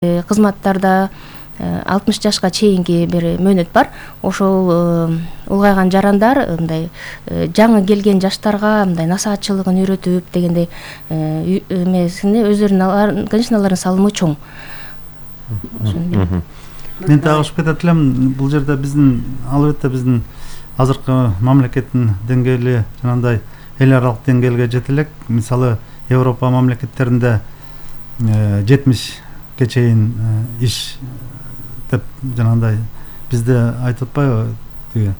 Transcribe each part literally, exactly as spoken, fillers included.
кызматтарда алтымыш жашка чейинки бир мөөнөт бар. Ошол улгайган жарандар мындай жаңы келген жаштарга мындай насаатчылыгын үйрөтүп дегендей эмесине өздөрүнүн конечналарын салымы чоң. Мен так ошуп кетет элем, бул жерде биздин албетте биздин азыркы мамлекеттин деңгээли жанагындай эл аралык деңгээлге жете элек. Мисалы Европа мамлекеттеринде жетимишке чейин иш деп жанагындай бизде айтып атпайбы, тиги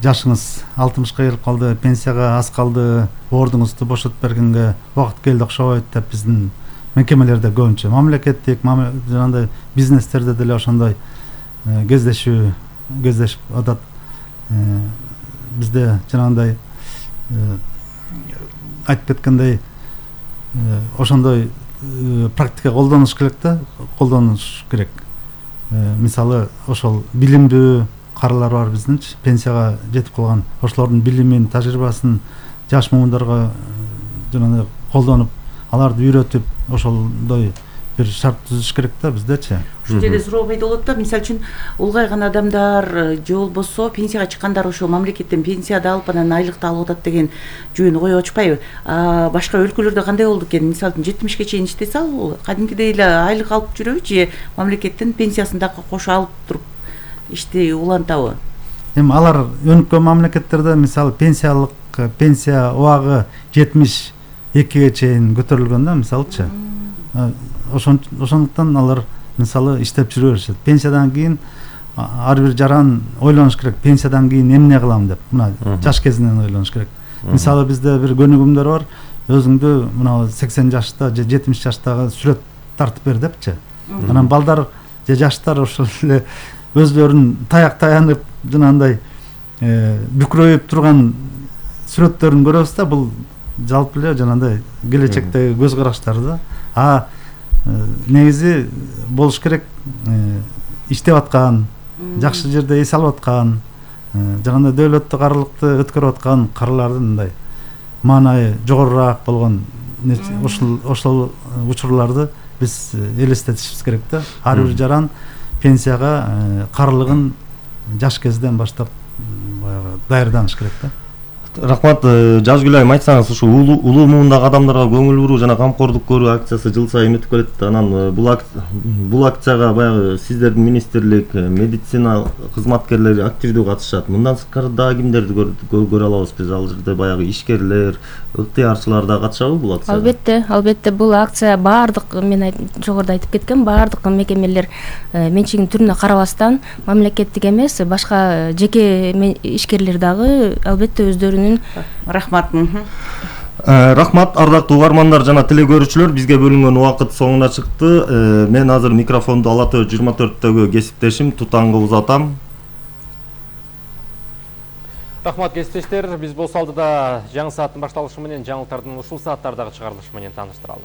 жашыңыз алтымышка келип калды, пенсияга аз калды, ордуңузду бошотуп бергенге убакыт келди окшобойт деп биздин мекемелерде көбүнчө мамлекеттик жанагындай бизнестерде деле ошондой кездешүү кездешип атат. Бизде жанагындай айтып кеткендей ошондой практика колдонуш керек да, колдонуш керек. Мисалы ошол билимдүү каралар бар биздинчи, пенсияга жетип калган, ошолордун билимин, тажрыйбасын жаш муундарга жанагындай колдонуп, аларды үйрөтүп, ошондой бир шарт түзүш керек да биздечи. Ушул жерде суроо пайда болот да, мисалы үчүн улгайган адамдар же болбосо пенсияга чыккандар ошол мамлекеттен пенсияды алып анан айлыкты алып атат деген жүйөнү коюп атышпайбы? Башка өлкөлөрдө кандай болду экен? Мисалы үчүн жетимишке чейин иштесе ал кадимкидей эле айлык алып жүрөбү же мамлекеттен пенсиясын дагы кошо алып туруп ишти улантабы? Эми алар өнүккөн мамлекеттерде мисалы пенсиялык пенсия убагы жетимиш экиге чейин көтөрүлгөн да, мисалычы. Ошондуктан алар мисалы иштеп жүрө беришет. Пенсиядан кийин ар бир жаран ойлонуш керек, пенсиядан кийин эмне кылам деп. Мына жаш кезинен ойлонуш керек. Мисалы бизде бир көнүгүмдөр бар, өзүңдү мына сексен жашта же жетимиш жаштагы сүрөт тартып бер депчи. Анан балдар же жаштар ошол эле өзлөрүн таяк таянып жанагындай бүкрөйүп турган сүрөттөрүн көрөбүз да, бул жалпы эле жанагындай келечектеги көз караштары да. А негизи болуш керек, иштеп аткан, жакшы жерде эс алып аткан, жанагындай дөөлөттүк аралыкты өткөрүп аткан каралардын мындай маанайы жогорураак болгон ошол ошол учурларды биз элестетишибиз керек да. Ар бир жаран пенсияга карылыгын жаш кезден баштап баягы даярданыш керек да. Рахмат, Жазгүл айым, айтсаңыз, ушу улуу муундагы адамдарга көңүл буруу жана камкордук көрүү акциясы жыл сайын өтүп келет. Анан бул акцияга баягы сиздердин министрлик, медицина кызматкерлери активдүү катышат. Мындан сырткары дагы кимдерди көрө алабыз биз? Ал жерде баягы ишкерлер, ыктыярчылар да катышабы бул акцияга? Албетте, албетте бул акция баардык, мен жогоруда айтып кеткен, баардык мекемелер менчигинин түрүнө карабастан, мамлекеттик эмес, башка жеке ишкерлер дагы албетте өздөрүнүн. Рахмат. Рахмат, ардактуу угармандар жана теле көрүүчүлөр, бизге бөлүнгөн убакыт соңуна чыкты. Мен азыр микрофонду Ала Төө жыйырма төрттөгү кесиптешим Тутанга узатам. Рахмат кесиптештер, биз болсо алдыда жаңы сааттын башталышы менен жаңылыктардын ушул сааттардагы чыгарылышы менен тааныштыралы.